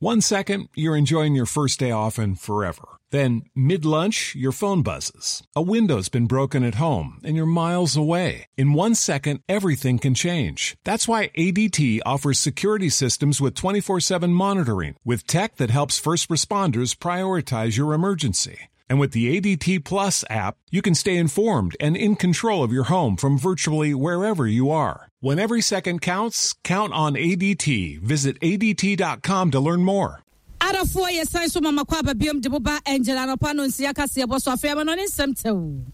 One second, you're enjoying your first day off and forever. Then, mid lunch, your phone buzzes. A window's been broken at home and you're miles away. In one second, everything can change. That's why ADT offers security systems with 24 7 monitoring, with tech that helps first responders prioritize your emergency. And with the ADT Plus app, you can stay informed and in control of your home from virtually wherever you are. When every second counts, count on ADT. Visit ADT.com to learn more. Adɔfoɔ yɛsan so ma makɔ aba biom de mo ba Angel anɔpa no nsia kaseɛ bɔ so afei ama no ne nsɛm tɛw.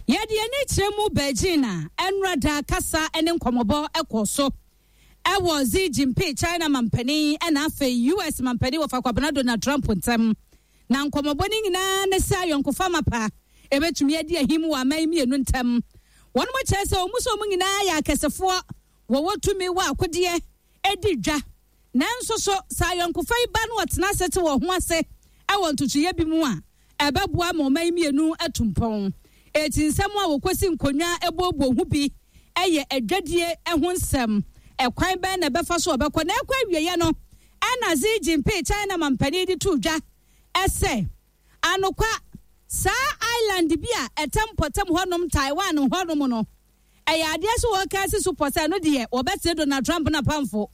Yɛde ani kyerɛ mu Beijing a ɛnora da kasa ne nkɔmmɔbɔ kɔɔ so ɛwɔ Xi Jinping China mampanin ɛna afei US mampanin wɔfa Kwabena Donald Trump ntam. Na nkɔmmɔbɔ no nyinaa ne sɛ ayɔnkofa mapa ɛbɛtumi adi ahim wɔ aman mmienu ntam. Wɔn mo kyerɛ sɛ wɔn sɛ wɔn nyinaa yɛ akɛsefoɔ, wɔwɔ tumi wɔ akodeɛ di dwa. Nanso so sɛ ayɔnkofa yi ba na wɔtena ase te wɔn ho ase wɔ ntotoeɛ bi mu a, ɛbɛboa ma ɔman mmienu atu mpɔn. Eti nsɛm a wɔkɔsi nkonnwa booboo ho bi yɛ adwadie ho nsɛm. Ɛkwan bɛn na ɛbɛfa so wɔbɛkɔ na ɛkɔ awieeɛ no, ɛna Xi Jinping, China mampanin de too dwa sɛ, anokwa, saa island bi a ɛtɛ mpɔtam hɔnom, Taiwan hɔnom no, ɛyɛ adeɛ sɛ wɔka asi so pɔ sɛ ɛno deɛ wɔbɛsere Donald Trump n'apamfo.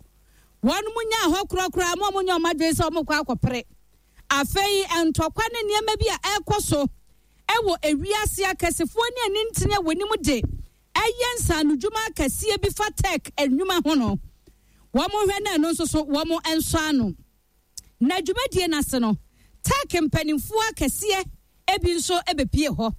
Wɔn nyaa hɔ korakora ma wɔn nyɛ wɔn adwene sɛ wɔkɔ akɔpere. Afei ntɔkwa ne nneɛma bi a ɛrekɔ so wɔ ewiase akɛsefoɔ ne anintini a wɔnim de ɛyɛ nsaanodwuma akɛseɛ bi fa tech nnwuma ho no, wɔn hwɛ na ɛno nso so wɔn nsɔ ano. Na dwumadie no ase no, tech mpanimfoɔ akɛseɛ ebi nso bɛpie hɔ.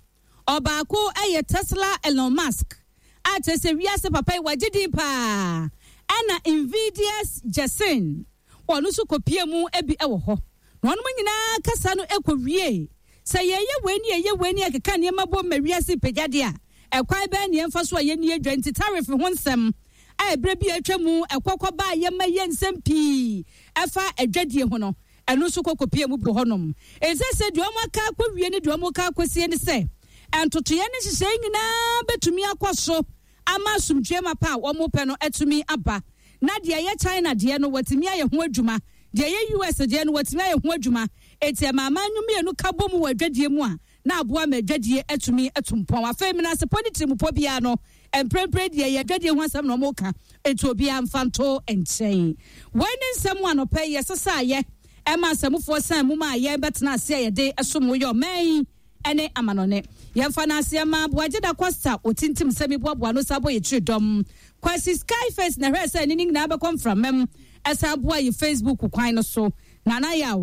Ɔbaako yɛ Tesla Elon Musk a kyerɛ sɛ wiase papa yi wagye din paa, ɛna Nvidia's Jensen wɔn nso kɔpie mu bi wɔ hɔ. Na wɔn nyinaa kasa no kɔwie sɛ yɛyɛ wei ne yɛyɛ wei ne yɛkeka nneɛma bom ma wiase pagya deɛ a, ɛkwan bɛn ne yɛmfa so a yɛnni adwa nti tariff ho nsɛm a ɛberɛ bi a atwa mu ɛkɔkɔ baa yɛma yɛ nsɛm pii ɛfa adwadie ho no, ɛno nso kɔkɔpie mu bi hɔnom. Ɛsɛ sɛ deɛ wɔn aka akɔwie ne deɛ wɔn aka akɔsie ne sɛ ntotoeɛ ne nhyehyɛe nyinaa bɛtumi akɔ so ama asomdwoeɛ mapa a wɔn pɛ no atumi aba. Na deɛ ɛyɛ China deɛ no wɔatumi ayɛ ho adwuma, deɛ ɛyɛ US deɛ no wɔatumi ayɛ ho adwuma. Eti ɛma aman no mmienu ka bɔ mu wɔ adwadie mu a na aboa ma adwadie atumi atu mpɔn. Afei menasepɔ ne tirimupɔ biara no mprempren deɛ yɛ adwadie ho asɛm na wɔn ka, eti obiara mfa nto nkyɛn. Wei ne nsɛm anɔpɛ yi yɛsesaayɛ ɛma asɛmufoɔ san mu ma yɛn bɛtena ase a yɛde ɛsom wo yɛ ɔman yi ɛne amanɔne. Yɛmfa no aseɛ ma Boagye da Costa otintim sɛmi boaboa no sa bɔ yɛkyiri dɔm. Kwasi Skyface na hwɛ sɛ ne ne nyinaa bɛkɔ mframam ɛsan boa yɛ Facebook kwan no so. Nana Yaw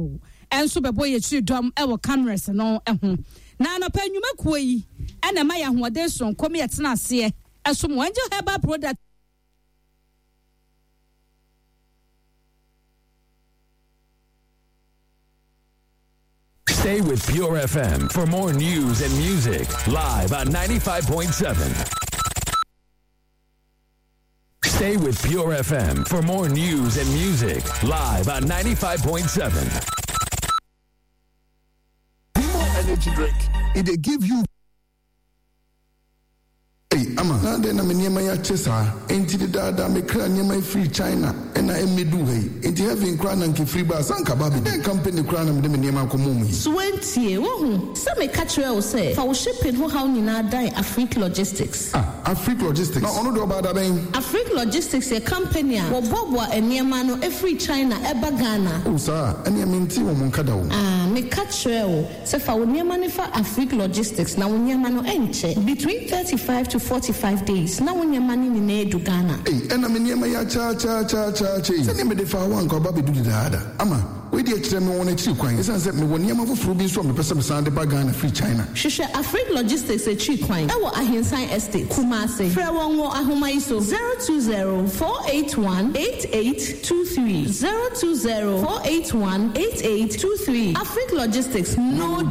ɛnso bɛbɔ yɛkyiri dɔm ɛwɔ cameras no ho. Na anɔpɛ nnwumakuo yi ɛna ɛma yɛ ahoɔden soronko ma yɛtena aseɛ ɛsom Angel Herbal Product. Stay with Pure FM for more news and music live on 95.7. Stay with Pure FM for more news and music live on 95.7. More energy drink. It they give you. Hey, ama na adɛn na me nneɛma yi akyɛ saa? Enti dedaada mekra nneɛma yi firi China ɛna ɛmmɛdu ha yi. Enti heaven koraa na nka firi baa sɛ anka ba abɛdu. Dɛn company koraa na mede me nneɛma akɔmɔ mu yi? So wantie, wohu sɛ meka kyerɛɛ wo sɛ fa wo shipping ho haw nyinaa dan Afrique Logistics. Ah, Afrique Logistics. Na ɔno deɛ ɔbaa da bɛn? Afrique Logistics yɛ company a wɔboaboa nneɛma no firi China ɛba Ghana. Oh saa, ɛneɛ mentee wɔn nka da o. Ah, meka kyerɛɛ wo sɛ fa wo nneɛma no fa Afrique Logistics na wo nneɛma no ɛnkyɛ. Between 35 to 45 days na wo nneɛma no nyinaa adu Ghana. Ei, ɛna me nneɛma yi akyɛakyɛakyɛakyɛ yi. Sɛdeɛ mede faa hɔ anka ɔba abɛdu dedaada. Ama, wei deɛ kyerɛ me wɔn akyiri kwan. Ɛsiane sɛ mewɔ nneɛma foforɔ bi nso a mepɛ sɛ mesan de ba Ghana firi China. Hwehwɛ Afrique Logistics akyiri kwan ɛwɔ Ahensan Estate, Kumasi. Frɛ wɔn wɔ ahoma yi so, 020 481 8823, 020 481 8823. Afrique Logistics, no.